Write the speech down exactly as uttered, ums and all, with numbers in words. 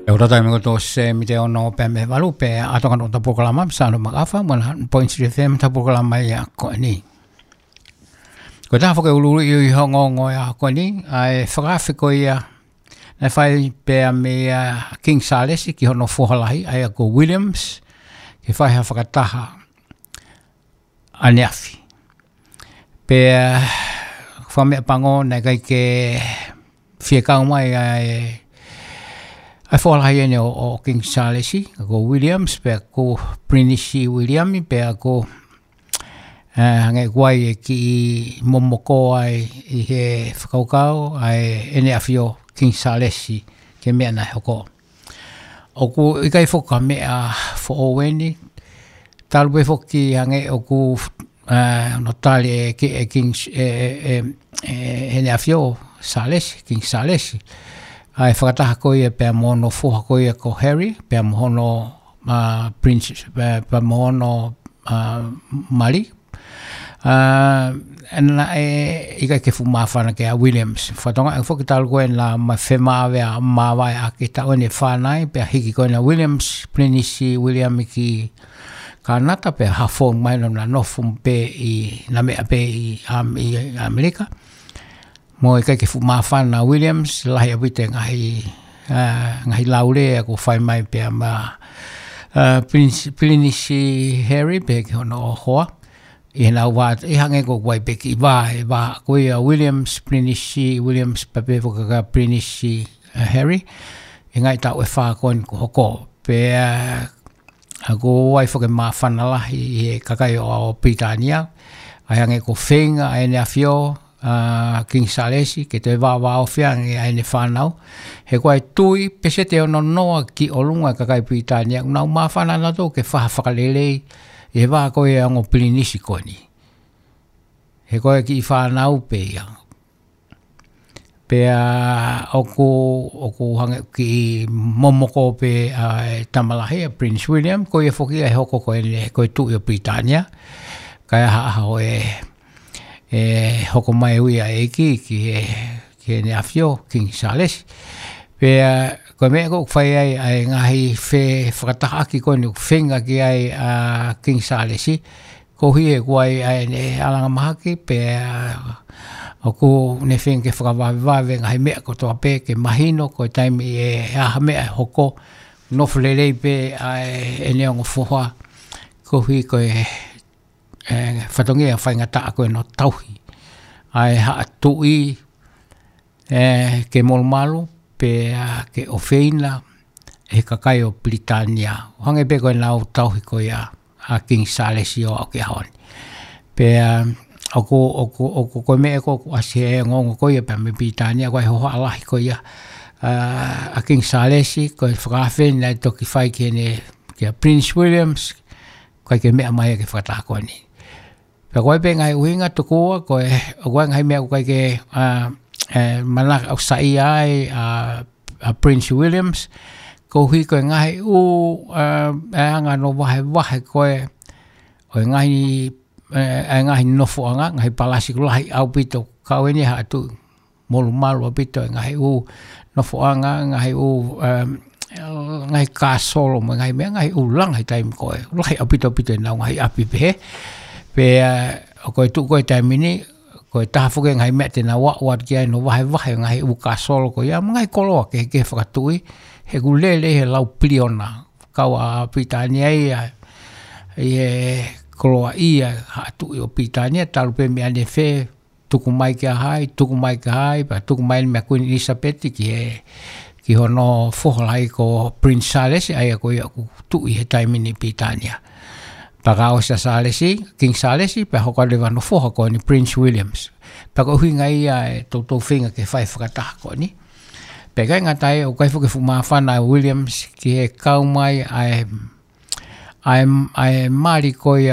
ʻE ora taimi ko tō se mite ono pē mei he valu pē ʻa e tokanga ʻo e polokalama, Sano Makafa, one oh one point three F M, ʻa e polokalama ia ko eni. Ko e taha foki e ʻuluʻulu ʻi he ongoongo ia ko eni, ʻa e fakaafe ko ia naʻe fai pē mei a King Sālesi ki hono foha lahi, ʻa ia ko Williams, ke fai ha fakataha ʻaneafi. Pea, fakameʻapango naʻe ʻikai ke fie kau mai ʻa e, ʻa e foha lahi eni ʻo, ʻo King Sālesi, ko Williams, pea ko Pilinisi Viliami, pea ko, ē, hangē ko ia ʻoku momoko ai ʻi he fakakaukau, ʻa e ʻEne ʻAfio King Sālesi, ki he meʻa naʻe hoko. ʻOku ʻikai foki ha meʻa foʻou eni, talu pē foki hangē ʻoku, ē, hono tali ʻe Ki-, ʻe King, ē, ē, ē, ē, ʻEne ʻAfio Sālesi, King Sālesi. ʻA e fakataha ko ia pea mo hono foha ko ia ko Harry, pea mo hono, ā, Prince, ē, pea mo hono, ā, mali, ā, naʻe ʻikai ke fuʻu māfana kia Williams. Fakatokanga foki talu ko ē naʻa ma-, femāvae ʻa, māvae ʻa ki he taʻu ʻe fā nai, pea hiki ko ena Williams, Pilinisi Viliami ki Kānata, pea hafo mai naʻa nofo pē ʻi, naʻa meʻa pē ʻi Am-, ʻi ʻAmelika. Mo e ʻikai ke fuʻu māfana Williams, lahi ʻaupito e ngaahi, ā, ngaahi laulea kuo fai mai pea mo, ā, Pilinisi, Pilinisi Harry, pea ki hono hoa. ʻI heʻenau vā, ʻi hangē ko ʻeku ʻai pē ki vā, ʻe vā, ko ia Williams, Pilinisi Williams, pea pehē foki kia Pilinisi, ā, Harry, ʻi he ngaahi taʻu ʻe fā ko eni kuo hoko. Pea, ā, ʻoku ʻi ai foki e māfana lahi ʻi he kakai ʻo, ʻo Pilitānia, ʻa e hangē ko e feinga ʻa ʻEne ʻAfio, ā, King Sālesi, ke toe vāvāofi ange ʻa ʻene fānau. He ko e tui, peseti ʻe ono noa ki ʻolunga e kakai Pilitānia, ʻoku nau māfana nautolu ke fai ha fakalelei ʻi he vā ko ia ʻa e ongo pilinisi ko eni. He ko e kiʻi fānau pē ia. Pea ʻoku, ʻoku hangē kiʻi momoko pē ʻa e tama lahi ʻa Prince William, ko ia foki ʻa e hoko ko eni, ko e tuʻi ʻo Pilitānia. Kae ʻaha ʻaho ē, ʻe hoko mai ui ʻa e ʻEiki ki he, ki heʻene ʻAfio, King Sālesi. Pea, ko e meʻa ko ē ʻoku fai ai ʻa e ngaahi fefakatahaʻaki ko eni ʻoku feinga ki ai ʻa King Sālesi, koeʻuhi he ʻoku ʻi ai ʻa ʻene ʻalanga mahaki, pea ʻoku ne feinga ke fakavavevave ngaahi meʻa kotoa pē ke mahino ko e taimi ʻe ʻi ai ha meʻa ʻe hoko, nofo lelei pē ʻa ʻene ongo foha, koeʻuhi ko e, ē, fatongia faingataʻa ko ē hono tauhi ʻa e haʻa tuʻi, ē, ke molumalu, pea ke ʻofeina ʻe he kakai ʻo Pilitānia. ʻO hangē pē ko ʻenau tauhi ko ia ʻa King Sālesi ʻo aʻu ki he ʻaho ni. Pea, ʻoku, ʻoku, ʻoku, ko e meʻa ko ē ʻoku ʻasi he ongoongo ko ia pea mei Pilitānia, ko e hohaʻa lahi ko ia, ā, ʻa King Sālesi, ko e fakaafe naʻe toki fai ki heʻene, kia Prince Williams, ʻikai ke meʻa mai ia ki he fakataha ko eni. Pea ko e pē ngaahi ʻuhinga tokua, ko e, ʻoku ʻi ai ngaahi meʻa ʻoku ʻikai ke, ā, ē, manako ʻo saiʻia ai, ā, ʻa Prince Williams, koeʻuhi ko e ngaahi ʻū, ā, ʻa e anga hono vahevahe ko ē ʻo e ngaahi, ē, ʻa e ngaahi nofoʻanga, ngaahi palasi ʻoku lahi ʻaupito, kau eni ha tuʻi molumalu ʻaupito e ngaahi ʻū nofoʻanga, ngaahi ʻū, um, ngaahi kāsolo mo e ngaahi meʻa, ngaahi ʻū langa he taimi ko ē. Lahi ʻaupito ʻaupito ʻenau ngaahi ʻapi pehē. Pea, ā, ʻoku ou tui ko e taimi ni, ko e taha foki e ngaahi meʻa te nau aʻu atu ki ai hono vahevahe ngaahi ʻū kāsolo ko ia, mo e ngaahi koloa kehekehe fakatuʻi, he ʻoku lele he lau piliona. Kau ʻa Pilitānia ia, ʻi he koloaʻia haʻa tuʻi ʻo Pilitānia, talu pē mei ʻanefē, tuku mai kia hai, tuku mai kia hai, pea tuku mai mei a Kuini ʻIlisapeti ki he, ki hono foha lahi ko Prince Sālesi, ʻa ia ko ia ʻoku tuʻi he taimi ni Pilitānia. Pea kuo ʻosi ʻa Sālesi, King Sālesi, pea hoko atu leva hono foha ko eni Prince Williams. Pea ko e ʻuhinga ia e toutou feinga ke fai fakataha ko eni. Pea ʻikai ngata ai, ʻoku ʻikai foki fuʻu māfana ʻa Williams ki he kau mai ʻa e, ʻa e, ʻa e mali ko ia